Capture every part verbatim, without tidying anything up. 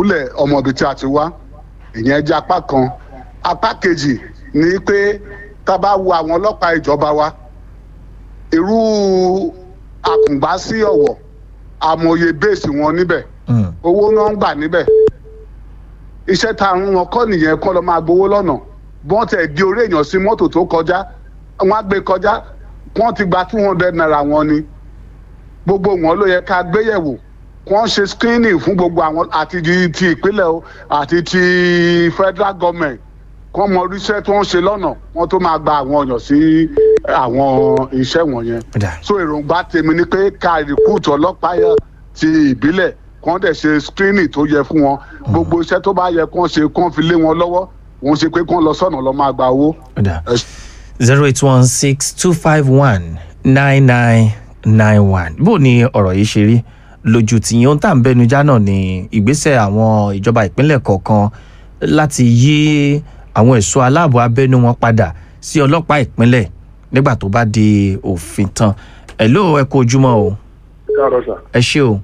Kúlẹ̀kúlẹ̀ ọmọ ibi tí a ti wá. Ìyẹn jẹ́ apá kan. Apá kejì ni pé tá a bá wo àwọn ọlọ́pàá ìjọba wa, irú Àkùngbá sí Ọ̀wọ̀, àmọye base wọn níbẹ̀, Mm. owó náà ń gbà níbẹ̀. Iṣẹ́ tá a rún wọn kọ́ nìyẹn, kọ́ lọ máa gbowó lọ́nà. Bọ́n tẹ̀ di orí èèyàn sí mọ́tò tó kọjá, wọ́n á gbé kọjá, wọ́n ti gba two hundred naira wọn ni. Gbogbo wọn ló yẹ ká gbéyẹ̀wò, kí wọ́n ṣe screening fún gbogbo àwọn, àti ti ti ìpínlẹ̀ o àti ti federal government, kí wọ́n mọ oríṣẹ́ tí wọ́n ṣe lọ́nà wọ́n tó máa gba àwọn èèyàn sí àwọn iṣẹ́ wọ̀nyẹn. Ó dà. So èròǹgbà tèmi ni pé ká recruit ọlọ́pàá yẹn ti ìbílẹ̀, kí wọ́n dẹ̀ ṣe screening tó yẹ fún wọn. Gbogbo iṣẹ́ tó bá yẹ kí wọ́n ṣe, kí wọ́n fi lé wọn lọ́wọ́. Wọ́n ṣe pé kí wọ́n lọ sọ́nà lọ́ máa gba owó. Ó dà. Ẹ zero eight one six two five one nine nine nine one. Bó ni ọ̀rọ̀ yìí ṣe rí lójú tìyín? Ohun tá à ń bẹnu já náà ni ìgbésẹ̀ àwọn ìjọba ìpínlẹ̀ kọ̀ọ̀kan láti yí àwọn ẹ̀ṣọ́ aláàbò abẹ́nú wọn padà sí ọlọ́pàá ìpínlẹ̀ nígbà tó bá di òfin tán. Ẹ̀ ló ẹ kú ojúmọ́ o. Káàárọ̀ sà. Ẹ ṣé o.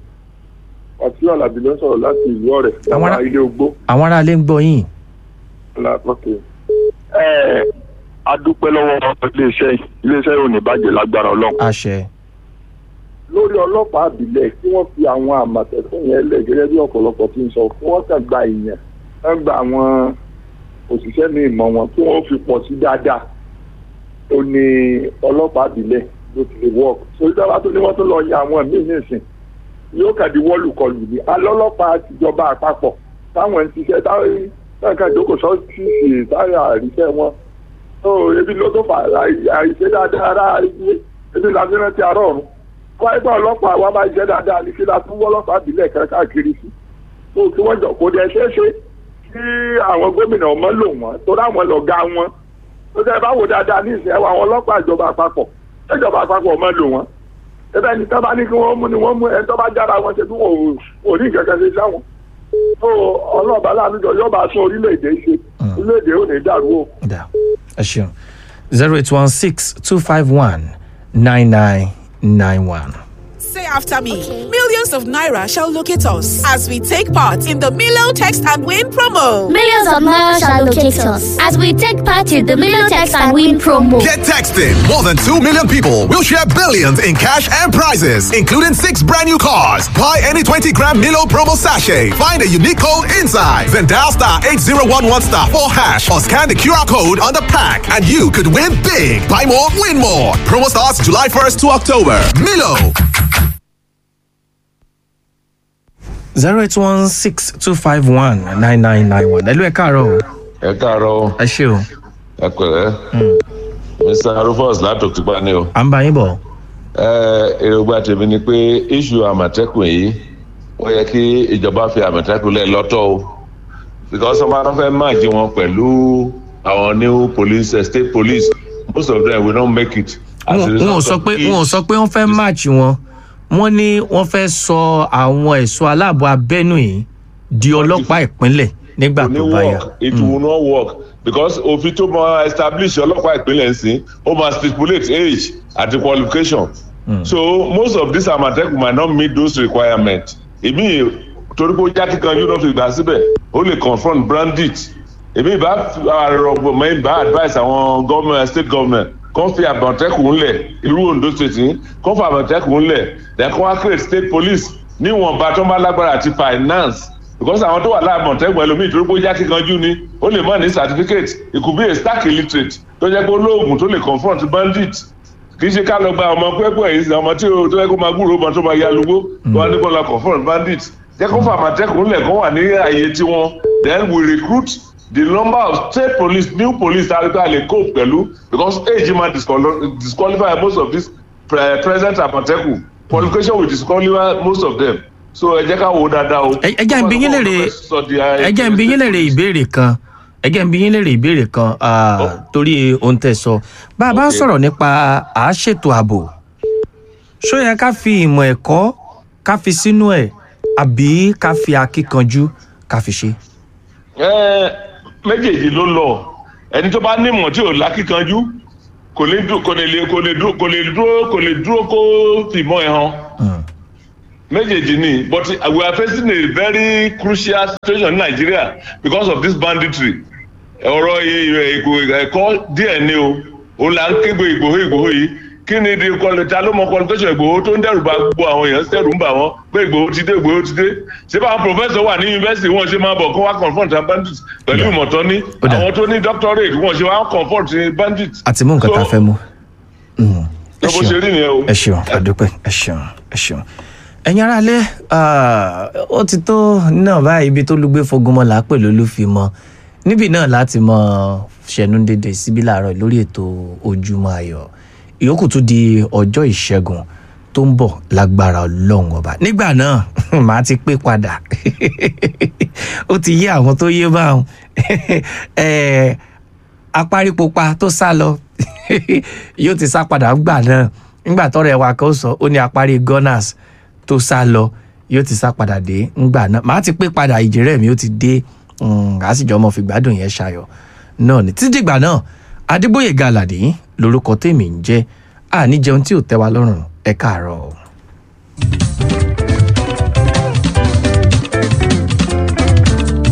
Ọtí Alábí ló ń sọ̀rọ̀ láti ìlú Ọ̀rẹ́. Àwọn ará- Bàbá ilé ogbó. Àwọn aráalé ń gbọ́ yín. Ọ̀kẹ́. Ẹ a dúpẹ́ lọ́wọ́ iléeṣẹ́ yìí. Iléeṣẹ́ yìí ò ní bàjẹ́ lágbára Ọlọ́run. Àṣẹ. Lórí ọlọ́pàá àbílẹ̀, kí wọ́n fi àwọn Àmọ̀tẹ́kùn yẹn lẹ̀ gẹ́gẹ́ bí ọ̀pọ̀lọpọ̀ ti ń sọ, kí wọ́n kàn gba èèyàn, kàn gba àwọn òṣìṣẹ́ ní ìmọ̀ wọn, kí wọ́n fi pọ̀ sí dáadáa. Ó ní ọlọ́pàá àbílẹ̀ ló ti lè work. Sórí táwa tó ní wọ́n tó lọ yan àwọn míì nísìn, yóò kàn di wọ́lùkọlù ní alọ́lọ́pàá tìjọba àpapọ̀ táwọn ń ṣiṣẹ́, táwọn táwọn kan jókòó sọ́ọ́sì táwọn àríṣẹ́ wọn tó ebi ló tó fà àìṣe dáadáa ara ebi la fi rántí arọ́ ọ̀run wáyé bá ọlọ́pàá wa bá ṣiṣẹ́ dáadáa ní kí la tún wọ́lọ́pàá àbílẹ̀ kan káàkiri sí tó kí wọ́n jọ kó dẹ ṣeéṣe kí àwọn gómìnà ọmọ lò wọ́n torí àwọn lọ̀gá wọn tó tẹ́ bá wò dáadáa ní ìsìn ẹwà àwọn ọlọ́pàá ìjọba àpapọ̀, ìjọba àpapọ̀ ọmọ lò wọ́n ẹbẹ ní tọ́ bá ní kí wọ́n mú ni wọ́n mú ẹni tó bá jára wọn ṣe tí wọn ò ò ní nǹkan kan ṣe sáwọn tó ọlọ́ọ̀bá láàánú jọ yóò bá tún orílẹ̀-èdè ṣe, orílẹ̀-èdè ò ní dàrú o. Ó dà, ẹ ṣeun. Zero eight one six two five one nine nine nine one. Say after me. Millions of naira shall locate us as we take part in the Milo Text and Win promo. Millions of naira shall locate us as we take part in the Million Text and Win promo. Get texting. More than two million people will share billions in cash and prizes, including six brand new cars. Buy any twenty gram Milo promo sachet. Find a unique code inside. Then dial star eight zero one one star four hash or scan the Q R code on the pack and you could win big. Buy more, win more. Promo starts July first to October. Milo. zero eight one six two five one nine nine nine one. Ẹ ló ẹ káàárọ̀ o. Ẹ káàárọ̀ o. Ẹ ṣé o. Ẹ pẹ̀lẹ́, Mister Rufus látòkìpá ni o. À ń bá yín bọ̀. Ẹ èròǹgbà tèmi ni pé issue Àmọ̀tẹ́kùn yìí, ó yẹ kí ìjọba fi Àmọ̀tẹ́kùn lẹ̀ lọ́tọ̀ o, because wọ́n bá fẹ́ merge wọn pẹ̀lú àwọn new police, eh, state police, most of them will not make it. As a wọn ò result sọ of pé wọn ò sọ pé wọ́n fẹ́ match wọn. Wọ́n ní wọ́n fẹ́ sọ àwọn ẹ̀ṣọ́ aláàbò abẹ́nú yìí di ọlọ́pàá ìpínlẹ̀ nígbà Kò ní tó bá yá. work. It will not work because òfin tó máa establish ọlọ́pàá ìpínlẹ̀ ń sìn, ó máa stipulate age àti qualification mm. So most of these Àmọ̀tẹ́kùn might not meet those requirements. Èmi torí pé ó já kíkanjú náà fi gbà síbẹ̀, ó lè confront bandit. Èmi ìbá àrọ̀gbọ̀n mọ́ ìbá advice àwọn government, state government, kàn fi Àmọ̀tẹ́kùn ńlẹ̀, irú Ondo State yìí, kàn fi Àmọ̀tẹ́kùn ńlẹ̀, then kàn wá create state police níwọ̀nba tó ń bá lágbára àti finance, because àwọn tó wà láàmọ̀tẹ́kùn, ẹlòmíì torí pé ó já kíkanjú ni, ó lè má ní certificate. It could be a stark illiterate tó jẹ́ pé olóògùn tó lè confront bandit. Kì í ṣe ká lọ gba ọmọ pẹ́pẹ́ yìí sí ọmọ tí ó tó yẹ kó máa gbúròó ọmọ tó máa ya lugbo tó wá ní kó lọ confront bandit. Jẹ́ kó fà Àmọ̀tẹ́kùn lẹ̀ kó wà ní ààyè tiwọn, then we recruit the number of state police, new police that a lè cope pẹ̀lú, because age ma disqual- disqualify most of these pre present Àmọ̀tẹ́kùn. Qualification will disqualify most of them, so ẹ jẹ́ ká wo dáadáa o. Ẹ ẹ jẹ́ n bi yín léèrè, ẹ jẹ́ n bi yín léèrè ìbéèrè kan, ẹ jẹ́ n bi yín léèrè ìbéèrè kan, ah, torí ohun tẹ́ sọ, bá a bá ń Okay. sọ̀rọ̀ nípa àáṣètò ààbò, ṣó yẹ ká fi ìmọ̀ ẹ̀kọ́ ká fi sínú ẹ̀, àbí ká fi akíkanjú ká fi ṣe? Ẹ, méjèèjì ló lọ. Ẹni tó bá nímọ̀ tí ò lákìkanjú kò lè dú- kò lè lè- kò lè dúró kò lè dúró kò lè dúró kó fìmọ̀ ẹ̀ hàn. Mm. Méjèèjì ni, but we are facing a very crucial situation in Nigeria because of this banditry. Ọ̀rọ̀ ẹ̀kọ́ díẹ̀ ni o, òun là ń kégbe Ìgbòho Ìgbòho yìí. Kí ni di ta ló mọ qualification Ìgbòho tó ń dẹ́rù bà gbogbo àwọn èèyàn, dẹ́rù ń bà wọ́n pé Ìgbòho ti dé, Ìgbòho ti dé? Ṣé báwọn professor wà ní university, wọn ṣe máa bọ̀ kó wá confront bandits pẹ̀lú ìmọ̀tọ́ ní àwọn tó ní doctorate, wọn ṣe wá confront bandits? Àti mú nǹkan tá a fẹ́ mú. Ẹ bó ṣe rí nìyẹn o. Ẹ ṣeun, àdúpẹ́, ẹ ṣeun, ẹ ṣeun. Ẹ̀yin aráalé, ó ti tó náà báyìí. Ibi tó lùgbé fogunmọ́ là á pè lólùfimọ́ níbí náà láti mọ ṣẹ̀nu dédé síbí láàárọ̀ lórí ètò Ojúmọ́ Ayọ̀. Ìyókù tún di ọjọ́ Ìṣẹ́gun tó ń bọ̀ lágbára Ọlọ́run Ọba. Nígbà náà màá ti pé padà, ó ti yé àwọn tó yé báwọn. Apárípupa tó sá lọ yóò ti sá padà gbà náà. Nígbà tọ́rọ̀ ẹwà kan sọ, ó ní apárí Gunners tó sá lọ yóò ti sá padà dé ńgbà náà. Màá ti pé padà, ìjìrẹ́ mi ó ti dé, àsìjọ ọmọ fìgbádùn yẹn ṣayọ̀ náà ní títí dìgbà náà. Adégbóyèga Àlàdé lórúkọ tèmi ń jẹ́. Àní jẹun tí ò tẹ́ wa lọ́rùn. Ẹ káàárọ̀.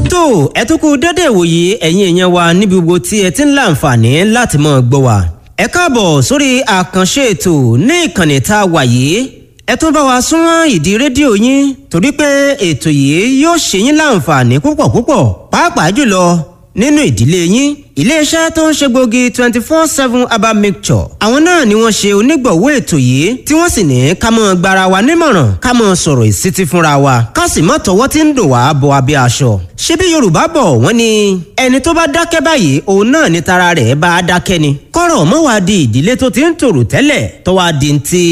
Tó ẹ tún kú dédé ìwòye, ẹ̀yin èèyàn wa níbi gbogbo tí ẹ ti ń láǹfààní láti máa gbọ́ wa. Ẹ káàbọ̀ sórí àkànṣe ètò ní ìkànnì tá a wà yìí. Ẹ tún bá wa súnmọ́ ìdí rédíò yín, torí pé ètò yìí yóò ṣe yín láǹfààní púpọ̀ púpọ̀, pàápàá jùlọ nínú ìdílé yín. Iléeṣẹ́ tó ń ṣe gbòógì twenty four seven herbal mixture, àwọn náà ni wọ́n ṣe onígbọ̀wọ́ ètò yìí, tí wọ́n sì ní ká mọ́ gbara wa nímọ̀ràn, ká mọ́ sọ̀rọ̀ ìsítí fúnra wa, ká sì mọ́ tọwọ́ tí ń dùn wá bọ abẹ́ aṣọ. Ṣé bí Yorùbá bọ̀, wọ́n ní ẹni tó bá dákẹ́ báyìí, òun náà ni tara rẹ̀ bá dákẹ́ ni. Kọ́rọ̀ mọ́ wá di ìdílé tó ti ń tòrò tẹ́lẹ̀ tó wá di ti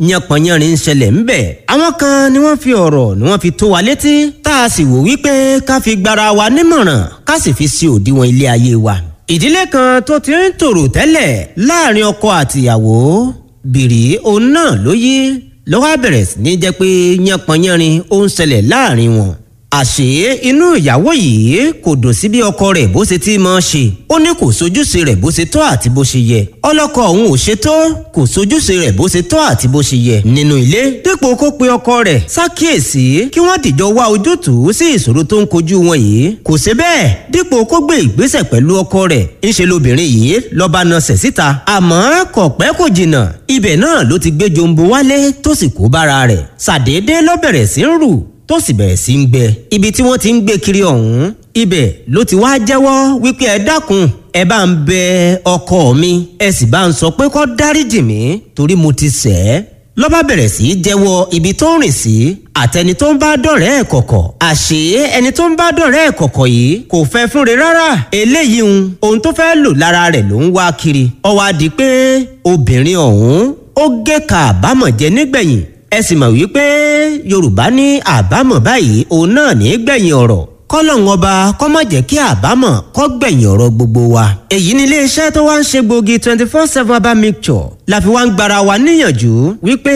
yánpọnyánrin ń ṣẹlẹ̀ ńbẹ̀. Àwọn kan ni wọ́n fi ọ̀rọ̀ ni wọ́n fi tó wa létí, tá a sì wò wípé ká fi gbara wa nímọ̀ràn, ká sì fi sí òdiwọ̀n ilé ayé wa. Ìdílé kan tó ti ń tòrò tẹ́lẹ̀ láàrin ọkọ àtìyàwó, bìrì òun náà ló yí lọ́wọ́, bẹ̀rẹ̀ sí ní jẹ́ pé yánpọnyánrin ó ń ṣẹlẹ̀ láàrin wọn. Àṣé inú ìyàwó yìí kò dùn sí bí ọkọ rẹ̀ bó ṣe ti máa ṣe. Ó ní kò sojúṣe rẹ̀ bó ṣe tọ́ àti bó ṣe yẹ. Ọlọ́kọ òun ò ṣe tó, kò sojúṣe rẹ̀ bó ṣe tọ́ àti bó ṣe yẹ nínú ilé. Dípò kó pe ọkọ rẹ̀ ṣàkíyèsí kí wọ́n dìjọ wá ojútùú sí ìṣòro tó ń kojú wọn yìí, kò ṣe bẹ́ẹ̀. Dípò kó gbé ìgbésẹ̀ pẹ̀lú ọkọ rẹ̀, ńṣe lobìnrin yìí lọ́ba nasẹ̀ síta. Àmọ́ kò pẹ́ kò jìnnà, ibẹ̀ náà ló ti gbé jombo wálé tó sì kó bára rẹ̀. Ṣàdédé ló bẹ̀rẹ̀ sí ń rù, tó sì bẹ̀rẹ̀ sí ń gbẹ. Ibi tí wọ́n ti ń gbé kiri ọ̀hún, ibẹ̀ ló ti wá jẹ́wọ́ wípé ẹ dákun, ẹ bá ń bẹ ọkọ mi, ẹ sì bá ń sọ pé kó dáríjì mí torí mo ti ṣẹ̀ ẹ́. Ló bá bẹ̀rẹ̀ sí í jẹ́wọ́ ibi tó ń rìn sí àtẹni tó ń bá dọ̀rẹ́ ẹ̀ kọ̀kọ̀. Àṣé ẹni tó ń bá dọ̀rẹ́ ẹ̀ kọ̀kọ̀ yìí kò fẹ́ fúnre rárá. Eléyìí ń ohun tó fẹ́ lò lára rẹ̀ ló ń wá kiri. Ó wá di pé obìnrin ọ̀hún ó gé ka àbámọ̀ jẹ nígbẹ̀yìn. Ẹ sì mọ̀ wípé Yorùbá ní àbámọ̀ báyìí òun náà ní gbẹ̀yìn ọ̀rọ̀. Kọ́lọ́hún ọba kó má jẹ́ kí àbámọ̀ kó gbẹ̀yìn ọ̀rọ̀ gbogbo wa. Èyí ni iléeṣẹ́ tó wá ń ṣe gbòógì twenty four seven herbal mixture la fi wá ń gbara wa níyànjú wípé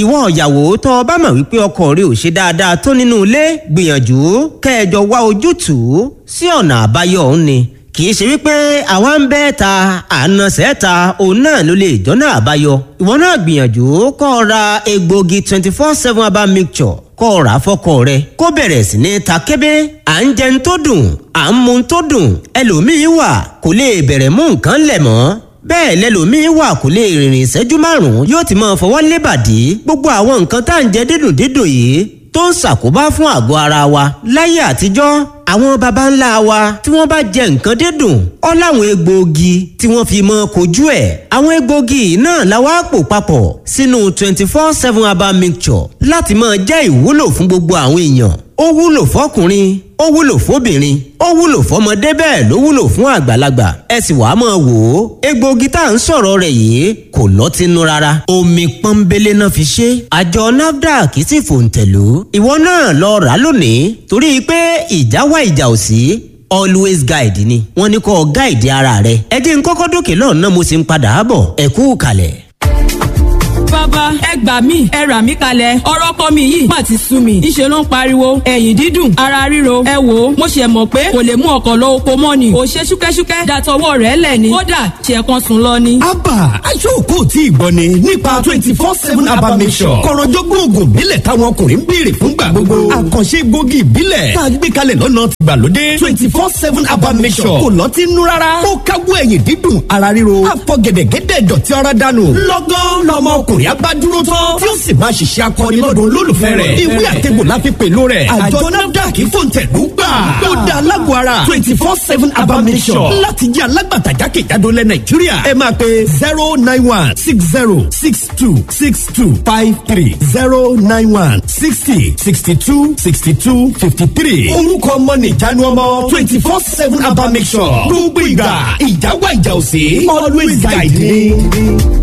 ìwọ ìyàwó tó o bá mọ̀ wípé ọkọ rẹ ò ṣe dáadáa tó nínú ilé, gbìyànjú kẹjọ wá ojútùú sí ọ̀nà àbáyọ òun ni. Kì í ṣe wípé àwa ń bẹ́ ta ànàṣẹ́ ta òun náà ló lè jọ́nà àbáyọ. Ìwọ náà gbìyànjú kó o ra egbògi twenty four seven herbal mixture, kó o rà á fọ́kọ rẹ, kó bẹ̀rẹ̀ sí ní ta kébé. À ń jẹun tó dùn, à ń mu tó dùn, ẹlòmíín wà kò lè bẹ̀rẹ̀ mú nǹkan lẹ̀ mọ́. Bẹ́ẹ̀ lẹlòmíín wà kò lè rìnrìn ìṣẹ́jú márùn-ún, yóò ti máa fọwọ́ lébàdí. Gbogbo àwọn nǹkan tá à ń jẹ dídùn dídùn yìí tó ń ṣàkóbá fún àgọ́ ara wa. Láyé àtijọ́, àwọn baba ńlá wa tí wọ́n bá jẹ nǹkan dídùn, ó láwọn egbòogi tí wọ́n fi mọ́ kojú ẹ̀. Àwọn egbòogi náà la wá pò papọ̀ sínú twenty four seven herbal mixture láti máa jẹ́ ìwúlò fún gbogbo àwọn èèyàn. Ó wúlò fọkùnrin, ó wúlò fóbìnrin, ó wúlò fọmọdé, bẹ́ẹ̀ ló wúlò fún àgbàlagbà. Ẹ sì wàá máa wò ó, egbòogi tá à ń sọ̀rọ̀ rẹ̀ yìí kò lọ́tínú rárá, omi pọ́nbélé náà fi ṣe. Àjọ NAFDAC sì fòǹtẹ̀lú. Ìwọ náà lọ rà á lónìí, torí pé ìjà wá ìjà ò sí, always guide ni wọ́n ní kó guide ara rẹ̀. Ẹ jẹ́ n kọ́kọ́ dókè lọ́nà, mo sì ń padà bọ̀. Ẹ kú kalẹ̀. Bàbá Bàbá, ẹ gbà mí, ẹ rà mí kalẹ̀, ọ̀rọ̀ ọkọ mi yìí má ti sú mi. Ńṣe ló ń pariwo, ẹ̀yìn dídùn, ara ríro. Ẹ wò ó, mo ṣe mọ̀ pé kò lè mú ọkọ̀ lọ oko mọ́ ni. Ò ṣe ṣúkẹ́ṣúkẹ́ dàtọwọ́ rẹ̀ lẹ̀ ni. Kódà ṣe kan sùn lọ ni. Abba aṣọ́kò tí ìgbọ́ ni nípa twenty four seven Abba Mixture. Kọ̀rọ̀jọ́gbọ́n oògùn ìbílẹ̀ táwọn ọkùnrin ń béèrè fúngbà gbogbo. Àkànṣe egbògi ìbílẹ̀ tá a gbé kalẹ̀ lọ́nà tìgbàlódé. twenty four seven Abba Mixture kò lọ́tí nú rárá. Ó káwọ́ ẹ̀yìn dídùn, ara ríro. Àfọ̀gẹ̀dẹ̀gẹ̀dẹ̀ dọ̀tí ara dànù. Lọ́gán lọmọ ọkùnrin abá dúró tán tí ó sì máa ṣiṣẹ́ akọni lọ́dọ̀ olólùfẹ́ rẹ̀. Ìwé àtẹ̀gbò la fi pèlú rẹ̀. Àjọ NAFDAC fòǹtẹ̀lú gbà. Ó da alágọ̀ ara twenty four seven Abba Mixture láti jẹ́ alágbàtà jákèjádò lẹ̀ Nàìjíríà. Ẹ máa pe zero nine one six zero six two six two five three zero nine one sixty sixty two sixty two fifty three. Orúkọ ọmọ nìjánu ọmọ twenty four seven Abba Mixture. Gbogbo ìgbà ìjáwá ìjà òsè always guide me.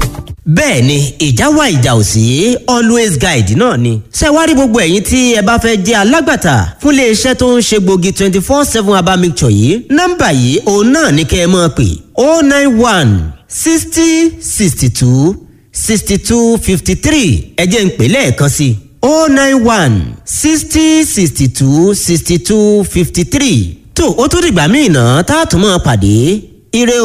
Bẹ́ẹ̀ ni, ìjà wà, ìjà ò sí, always guide náà ni. Ṣé wàá rí gbogbo ẹ̀yin tí ẹ bá fẹ́ jẹ́ alágbàtà fún iléeṣẹ́ tó ń ṣe gbòógì twenty four seven herbal mixture yìí, nọ́mbà yìí òun náà ni kẹ́ ẹ máa pè: oh nine one sixty sixty two sixty two fifty three. Ẹ jẹ́ n pè lẹ́ẹ̀kan sí i: oh nine one sixty sixty two sixty two fifty three. Tó o tún dìgbà míì náà tá a tún máa pàdé. Ire o.